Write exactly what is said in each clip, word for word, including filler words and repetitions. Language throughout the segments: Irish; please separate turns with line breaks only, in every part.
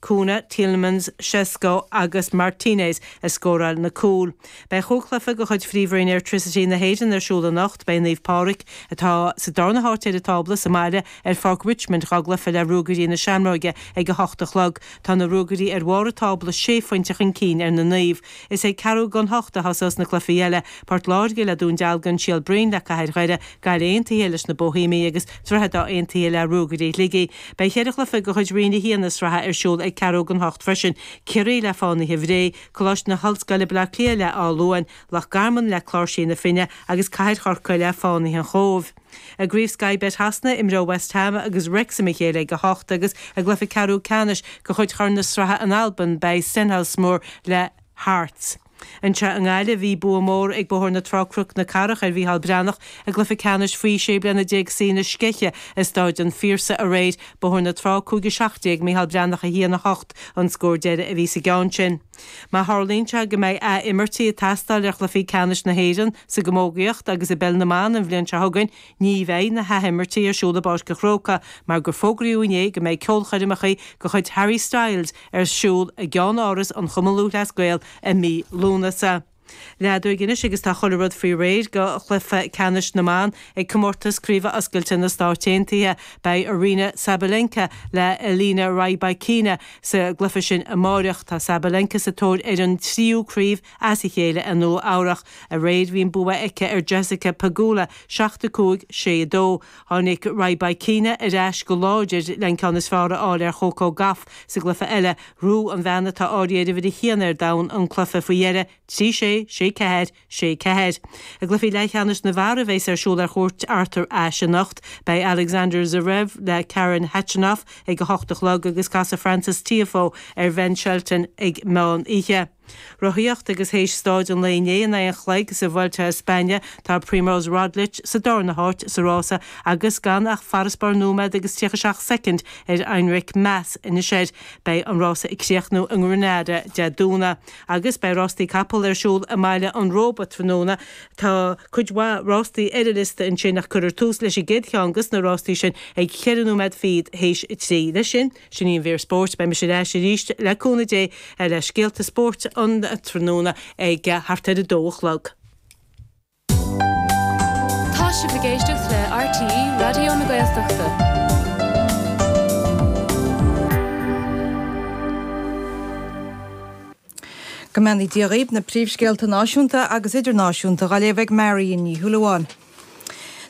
Cunha, Tielemans, Sesko agus Martinez a scóráil na cúil. Beidh chúig chluiche de chuid Phríomhroinn Airtricity na hÉireann ar siúl anocht. Beidh Naomh Pádraig, atá sa darna háit ar an tábla, sa mbaile ar Pháirc Richmond dhá gcluiche le Ruagairí na Seamróige ag a hocht a chlog. Tá na Ruagairí ar bharr an tábla sé phointe chun cinn ar na Naoimh. Is ag ceathrú don hocht a thosós na cluichí eile, Port Láirge le Dún Dealgan, Síol Broin le Cathair Dhoire, Gaillimh Aontaithe leis na Boihéamaigh agus Droichead Átha Aontaithe le Ruagairí Shligigh. Beidh ceithre chluiche de chuid Roinn a haon na sraithe ar siúl ag ceathrú don hocht freisin, Ciarraí le Fánaithe Bhré, Coláiste na hOllscoile Baile Átha Cliath le Áth Luain, Loch Garman le Cláirsigh na Finne agus Cathair Chorcaí le Fánaithe an Chóibh. I gCraobh Sky Bet Shasana, imreoidh West Ham agus Wrexham a chéile ag a hocht agus i gcluiche ceathrú ceannais de chuid Chorn na Sraithe in Albain beidh Stenhousemuir le Hearts. Anseo i nGaillimh, bhí bua mór ag Bóthar na Trá-Cnoc na Cathrach ar Mhícheál Breathnach i gcluiche ceannais faoi sé bliana déag C na Sceiche i Stáid an Phiarsaigh aréir. Bóthar na Trá cúig a seacht déag, Mícheál Breathnach a haon a hocht an scór deiridh a bhí sa gceann sin. Má tharlaíonn sé go mbeidh ath-imirtí ag teastáil ar chluichí ceannais na hÉireann sa gcamógaíocht agus i bpeil na mban an bhliain seo chugainn, ní bheidh na hath-imirtí ar siúl i bPáirc an Chrócaigh mar gur fógraíodh inné go mbeidh ceolchoirmeacha de chuid Harry Styles ar siúl i gceann-áras an Chumann Lúthchleas Gael i mí Lúnasa. Leathuair anois agus tá chuile rud faoi réir do chluiche ceannais na mban ag comórtas Craoibhe Oscailte na Stáit Aontaithe. Beidh Aryna Sabalenka le Elena Rybakina sa gcluiche sin amáireach. Tá Sabalenka sa tóir ar an tríú craobh as a chéile i Nua Eabhrach. Aréir bhí an bua aici ar Jessica Pegula, seacht a cúig, sé a dó. Tháinig Rybakina ar ais go láidir le an ceann is fearr a fháil ar Choco Gauff sa gcluiche eile. Ghnóthaigh an bhean atá áirithe ar uimhir a haon ar domhan an cluiche faoi dheireadh, trí sé, sé ceathair, sé ceathair. I gcluichí leathcheannais na bhfear a bheas ar siúl ar Chúirt Arthur Ashe anocht, beidh Alexander Zverev le Karen Khachanov ag a hocht a chlog agus casfaidh Frances Tiafoe ar Ben Shelton ag meán oíche. Rothaíocht agus théis staid an lae inné in aghaidh an chloig sa Vuelta a España, tá Primož Roglič sa darna háit sa rása agus gan ach farasbarr nóiméad agus tríocha seacht soicind ar Enric Mas anois air. Beidh an rása ag críochnú i nGranada Dé Domhnaigh agus beidh rástaí capall ar siúl i mBaile an Róba tráthnóna. Tá cuid mhaith rástaí ar an liosta ansin ach cuirfear tús leis an gcéad cheann de na rástaí sin ag ceithre nóiméad fichead théis a trí. Leis sin, sin í an mhír spóirt. Beidh mise ar ais arís le cúnamh Dé le scéalta spóirt an tráthnóna ag thart ar a dó a chlog.
Tá sibh ag éisteacht le R T E Raidió na Gaeltachta.
Go mbeannaí Dia dhaoibh, na príomhscéalta náisiúnta agus idirnáisiúnta á léamh ag Marion Ní Shúilleabháin.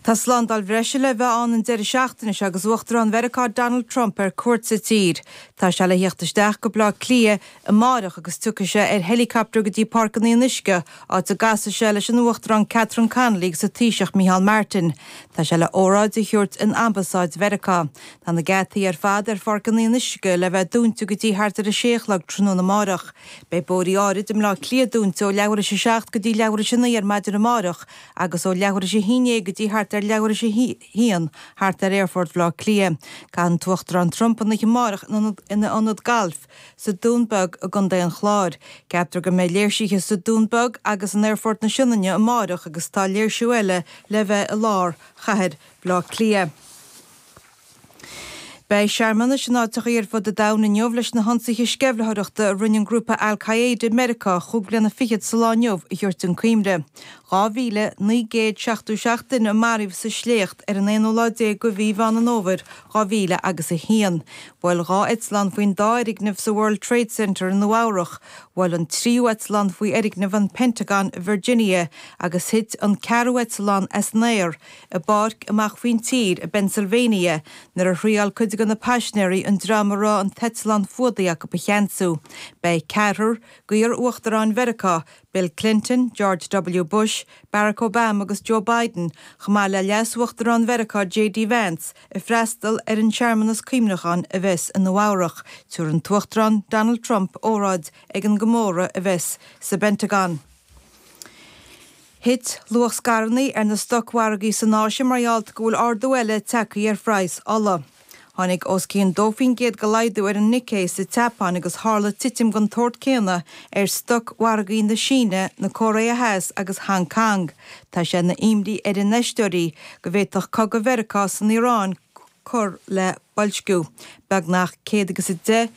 Tá slándáil bhreise le bheith ann an deireadh seachtaine seo agus Uachtarán Mheiriceá Donald Trump ar cuairt sa tír. Tá sé le theacht isteach go Baile Átha Cliath amárach agus tiocfaidh sé ar helicopter go dtí Páirc an Fhionnuisce, áit a gcasfaidh sé leis an Uachtarán Catherine Connolly agus an Taoiseach Micheál Martin. Tá sé le óráid a thabhairt in Ambasáid Mheiriceá. Tá na geataí ar fad ar Pháirc an Fhionnuisce le bheith dúnta go dtí thart ar a sé a chlog tráthnóna amárach. Beidh bóithrí áirid i mBleá Cliath dúnta ó leathuair théis a seacht go dtí leathuair théis a naoi ar maidin amárach agus ó leathuair théis a haon déag go dtí thart ar leathuair théis a haon thart ar Aerfort Bhaile Átha Cliath. Caitheann an tUachtarán Trump an oíche amárach ina ionad gailf sa Dún Beag i gContae an Chláir. Ceaptar go mbeidh léirsithe sa Dún Beag agus in Aerfort na Sionainne amárach agus tá léirsiú eile le bheith i lár chathair Bhaile Átha Cliath. Beidh searmanais in áiteachaí ar fud an domhain inniu leis na hionsaithe sceimhlitheoireachta a rinne an grúpa Al-Qaeda i Meiriceá chúig bliana fichead sa lá inniu a thabhairt chun cuimhne. Dhá mhíle naoi gcéad seachtó seacht duine a maraíodh sa sléacht ar an aonú lá déag de mhí Mheán an Fhómhair dhá mhíle agus a haon. Bhuail dhá eitleán faoin dá fhoirgneamh sa World Trade Center i Nua Eabhrach, bhuail an tríú eitleán faoi fhoirgneamh an Pentagon i Virginia agus thit an ceathrú eitleán as an aer i bpáirc amach faoin tír i bPennsylvania nuair a thriail cuid de na paisinéirí an dream a raibh an t-eitleán fuadaithe acu a cheansú. Beidh ceathrar d'iar-uachtaráin Mheiriceá, Bill Clinton, George W. Bush, Barack Obama agus Joe Biden, chomh maith le leas-uachtarán Mheiriceá J D Vance, ag freastal ar an searmanas cuimhneacháin a bheas i Nua Eabhrach. Tabharfaidh an tUachtarán Donald Trump óráid ag an gcomóradh a bheas sa bPentagon. Thit luach scaireanna ar na stocmhargaí san Áise mar gheall go bhfuil ardú eile tagtha ar phraghas ola. Tháinig os cionn dó faoin gcéad de laghdú ar an Nikkei sa tSeapáin agus tharla titim den tsórt céanna ar stocmhargaí na Síne, na Cóiré Theas agus Hong Kong. Tá sé ina imní ar infheisteoirí go bhféadfadh cogadh Mheiriceá san Iaráin cur le boilsciú. Beagnach céad agus a deich